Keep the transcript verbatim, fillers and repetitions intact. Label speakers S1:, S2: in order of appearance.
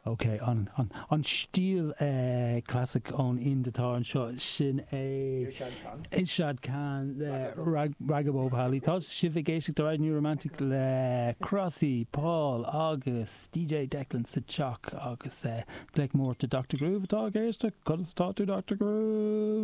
S1: Ok, an, an, an stíl eh, classic ón Ind atá anseo sin é Irshad Khan le Raga Bhopali. Tá sibh ag éisteacht le New Romantic le Crossy, Paul agus DJ Declan sa teach agus uh, glaoch mór do Dr. Groove atá ag éisteacht, conas tá tú Dr. Groove?